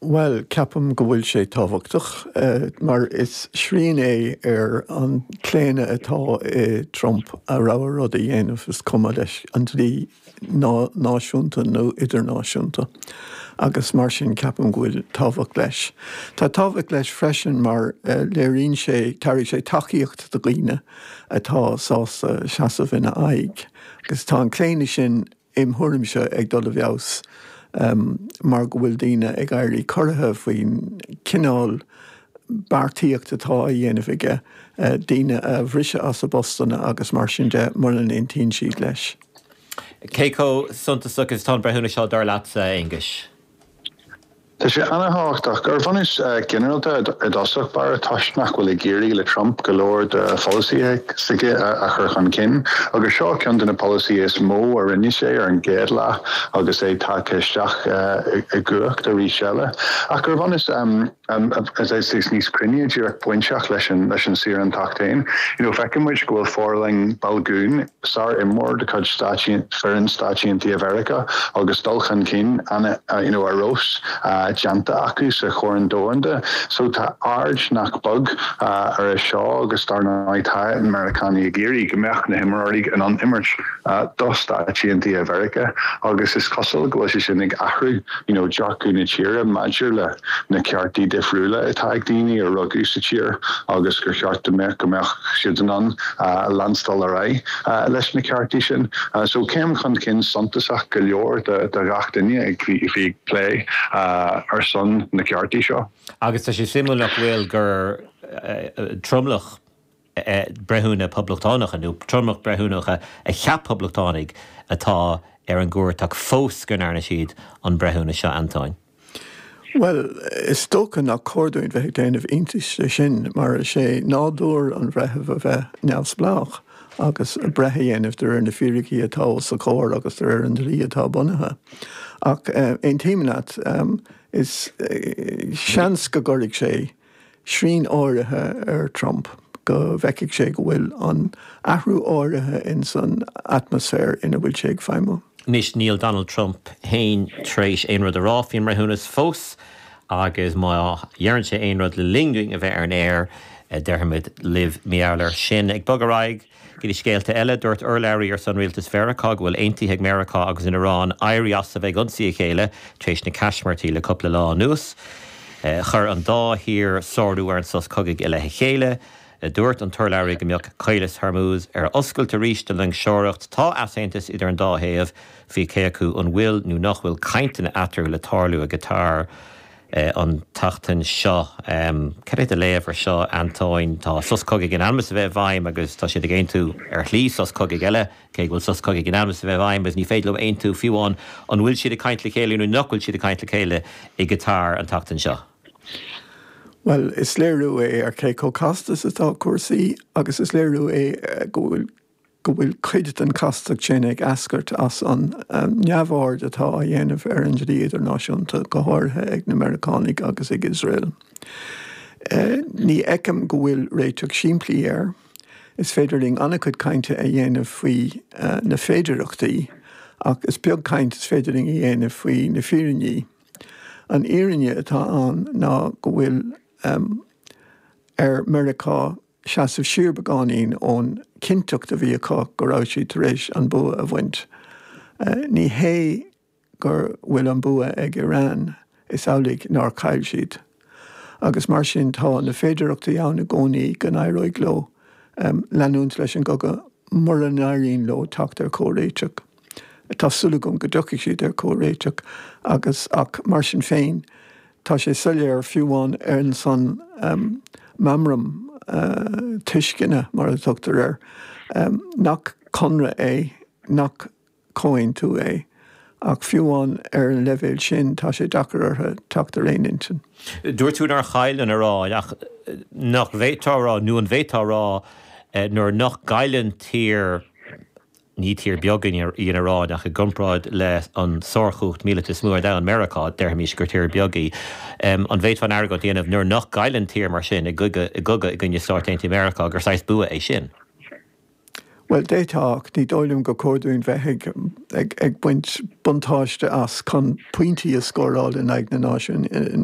Bhuel, ceapaim go bhfuil sé tábhachtach mar is srian é ar an claonadh atá i Trump a rogha rud a dhéanamh, is cuma leis an dlí náisiúnta nó idirnáisiúnta agus mar sin ceapaim go bhfuil tábhacht leis. Tá tábhacht leis freisin mar léiríonn sé, tabharfaidh sé tacaíocht do dhaoine atá sásta seasamh ina aghaidh agus tá an claonadh sin im thuairimse, ag dul i bhfeabhas mar go bhfuil daoine ag éirí corraithe faoin cineál beartaíocht atá á dhéanamh aige, daoine a bhriseadh as a bpostanna agus mar sin de mura n-aontaíonn siad leis. Cé chomh suntasach is atá an breithiúnas seo, dar leatsa, a Aonghuis? Tá sé an-thábhachtach. Ar bhunús ginearálta i dtosach báire, toisc nach bhfuil ag éirí le Trump go leor de pholasaithe s'aige a chur chun cinn, agus seo ceann de na polasaithe is mó a rinne sé ar an gcéad lá agus é tagtha isteach i gcumhacht arís eile. Ach ar bhunús is níos cruinne, díreach bainteach leis an leis an saorántacht féin, you know feiceann muid go bhfuil forlann Balogun, Sár-imreoir de chuid foireann Stáit Aontaithe Mheiriceá agus dul chun cinn ana you know ar fheabhas déanta acu sa Chorn Domhanda. So tá aird nach beag ar é seo agus dar ndóigh tá na Meiriceánaigh ag iarraidh go mbeadh na himreoirí in ann imirt do Stáit Aontaithe Mheiriceá agus is cosúil go bhfuil sé sin ag athrú you know dearcadh na tíre maidir le na ceartaí difriúla atá ag daoine a rugadh sa tír agus gur cheart go mbeadh go mbeadh siad in ann leanstáil ar aghaidh leis na ceartaí sin. So céim chun cinn suntasach go leor do ghach duine a bhí ag plé ar son na ceartaí seo. Agus tá sé suimiúil nach bhfuil gur tromlach breithiúna poblachtánacha, nó tromlach breithiúnacha a cheap poblachtánaigh atá ar an gcúirt ach fós go ndearna siad an breithiúnas seo, Antóin. Bhuel, is dócha nach cóir dúinn bheith ag déanamh iontais de sin, mar is é nádúr an bhreithimh a bheith neamhspleách agus breith a dhéanamh de réir na fíricí atá os a chomhair agus de réir an dlí atá bunaithe. Ach aontaím leat, is seans go gcuirfidh sé srian áirithe ar Trump, go bhfeicfidh sé go bhfuil an athrú áirithe ins an atmaisféar ina bhfuil sé ag feidhmiú. Anois níl Donald Trump féin tar éis aon rud a rá faoin mbreithiúnas fós agus má dheireann sé aon rud le linn dúinn a bheith ar an aer, déarfaimid libh mar gheall air sin. Ag bogadh ar aghaidh Go dtí scéalta eile, dúirt urlabhraí ar son rialtas Mheiriceá go bhfuil aontaithe ag Meiriceá agus an Iaráin éirí as a bheith ag ionsaí a chéile tar éis na caismirtí le cúpla lá anuas. Chuir an dá thír sárú ar an sos cogaidh i leith a chéile. Dúirt an t-urlabhraí go mbeadh Caolas Hormuz ar oscailt arís don loingseoireacht. Tá easaontas idir an dá thaobh faoi cé acu an bhfuil nó nach bhfuil cainteanna eatarthu le tarlú i gCatar. an tseachtain seo. Cad é do léamh ar seo, Antóin? Tá sos cogaidh in ainm is a bheith i bhfeidhm agus tá siad ag aontú ar shlí sos cogaidh eile, cé go bhfuil sos cogaidh in ainm is a bheith i bhfeidhm agus ní féidir leo aontú fiú amháin an bhfuil siad ag caint le chéile nó nach bhfuil siad ag caint le chéile i gCatar an tseachtain seo. Bhuel, is léiriú é ar cé chomh casta is atá cúrsaí agus is léiriú é go bhfuil go bhfuil cuid den chastacht sin ag eascairt as an neamhaird atá á dhéanamh ar an dlí idirnáisiúnta, go háirithe ag na Meiriceánaigh agus ag Iosrael. Ní fheicim go bhfuil réiteach simplí air. Is féidir linn an-chuid cainte a dhéanamh faoi na féidearthachtaí, ach is beag caint is féidir linn a dhéanamh faoi na fírinní. An fhírinne atá ann ná go bhfuil ar Meiriceá seasamh siar beagáinín ón chinnteacht a bhí acu go raibh siad tar éis an bua a bhaint. Ní hé go bhfuil an bua ag Iran, is amhlaidh nár chaill siad. Agus mar sin tá na féidearthachtaí ann i gcónaí go n-éireoidh leo leanúint leis an gcogadh mura n-éiríonn leo teacht ar chomhréiteach. Tá súil agam go dtiocfaidh siad ar chomhréiteach agus ach mar sin féin tá sé soiléir fiú amháin ar an san meamram tuisceana mar a tugtar air nach conradh é, nach comhaontú é ach fiú amháin ar an leibhéal sin tá sé deacair orthu teacht ar aon intinn. Dúirt tú nár chaill an Iaráin ach nach bhféadfá a rá nó an bhféadfá a rá nuair nach gcailleann tír Ní tír beag í an Iaráin ach i gcomparáid le an sárchumhacht míleata is mó ar domhan, Meiriceá, déarfaimis gur tír beag í. An bhféadfá an argóint a dhéanamh nuair nach gcailleann tír mar sin i gcogadh i gcoinne Stáit Aontaithe Meiriceá gur saghas bua é sin? Bhuel, d'fhéadfá ach ní dóigh liom gur cóir dúinn bheith ag ag baint buntáiste as chun pointí a scóráil in aghaidh na náisiún.